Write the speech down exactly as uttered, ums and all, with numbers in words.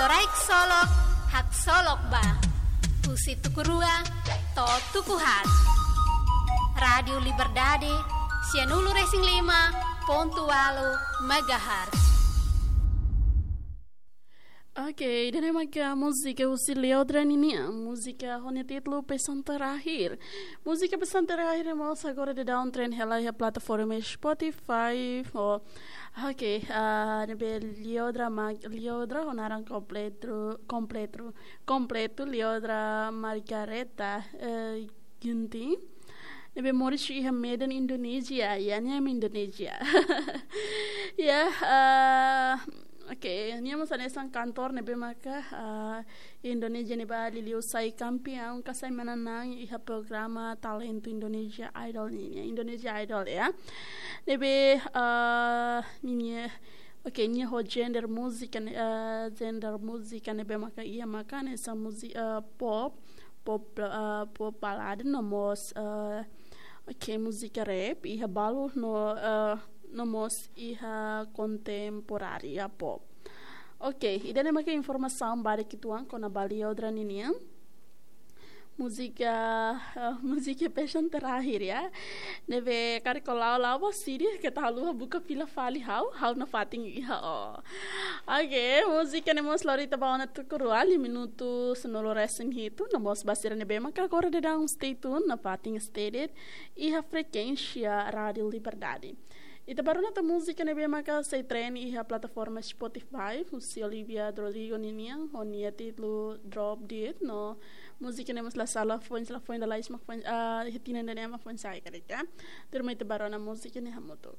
Rai ksolok, haksolok ba. Husi tuku rua to'o tuku haat. Rádiu Liberdade, sianulu-resin-lima pontu ualu megahertz. Oke, ida-ne'e maka múzika husi Liodra ninian, múzika ho nia títulu Pesan Terakhir. Múzika Pesan Terakhir ne'e mós agora daudaun trend hela iha plataforma Spotify. Oh, oke, ah, ne'ebé Liodra ma-, Liodra ho naran kompletu, kompletu, kompletu Liodra Margareta, eh, Ginting. Ne'ebé moris iha Medan, Indonézia. Ya, nia ema Indonézia. Ya, ah, oke, nia mós hanesan kantór ne'ebé maka, ah, Indonézia ne'ebá liuliu sai kampiaun ka sai manán-na'an iha programa talentu Indonesia Idol nian, Indonesia Idol ya. Ne'ebé, ah, ninia, oke, nia ho genre múzika ne'e, ah, genre múzika ne'ebé maka iha maka hanesan múzika, ah, pop, pop, ah, pop balada no mós, ah, oke, múzika rap, iha balu no, ah, no mós iha kontemporária pop. Oke, ida-ne'e maka informasaun badak uitoan kona-ba Liodra ninian. Múzika, ah, múzika Pesan Terakhir ya. Ne'ebé karik ó la'o, la'o ba sidi, keta haluha buka fila fali ha'u, ha'u nafatin iha ó. Oke, múzika ne'e mós lori ita ba ona tuku rua, liu minutu sanulu-resin-hitu, no mós ba sira ne'ebé maka agora daudaun stay tune, nafatin stay de'it iha frekuénsia Rádiu Liberdade. Ita bá rona tan múzika ne'ebé maka sai trend iha plataforma Spotify, husi Olivia Rodrigo ninian, ho nia títulu Drop Dead, no múzika ne'e mós la sala foin, la foin dala isma foin, ah, iha tinan ida-ne'e mak foin sai karik. Tuirmai ita bá rona múzika ne'e hamutuk.